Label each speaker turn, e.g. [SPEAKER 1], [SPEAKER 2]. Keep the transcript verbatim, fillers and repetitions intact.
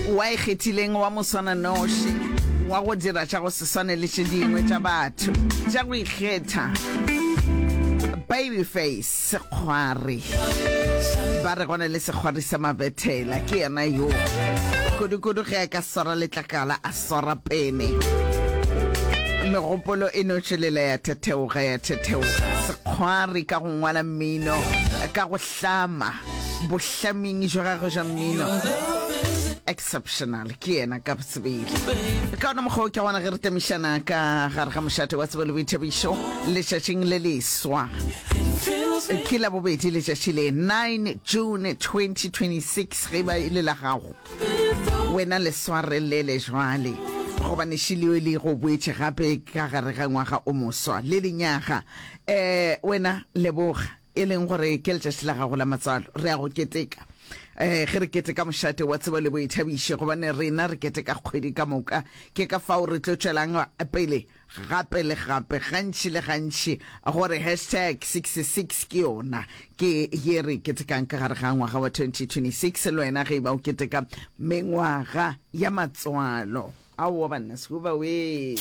[SPEAKER 1] Wa ikgethileng wa moswananoši wa go dira tša go se swane le tše dingwe tša batho tša go ikgetha. Babyface Sekgwari, ba re gona le sekgwari sa mabethela, ke yena yo kudu-kudu ge a ka swara letlakala a swara pene, megopolo e no tšwelela ya thetheoga ya thetheoga. Sekgwari ka go ngwala mmino, ka go hlama, bohlaming jwa gagwe jwa mmino exceptional, ke yena ka sebele. Ka ona mokgwa o ke gona ge re tamišana ka gare ga mošate wa tsebo le boithabišo letšatšing le leswa, ke la bobedi letšatši le nine June twenty twenty-six. Ge ba e le la gago wena le swarelele jwale, gobane šileo le go boetše gape ka gare ga ngwaga o moswa le lenyaga. Um wena leboga e leng gore ke letšatši la gago la matswalo, re ya go keteka. Um ge re keteka mošate wa tsebo le boithabišo, gobane rena re keteka kgwedi ka moka, ke ka fao re tlo tšwelang pele gape le gape, gantši le gantši, gore hashtag sixty-six ke yona ke ye re ketekang ka gare ga ngwaga wa twenty twenty-six. Le wena ge e ba o keteka mengwaga ya matswalo, aowa banna, sekuba we.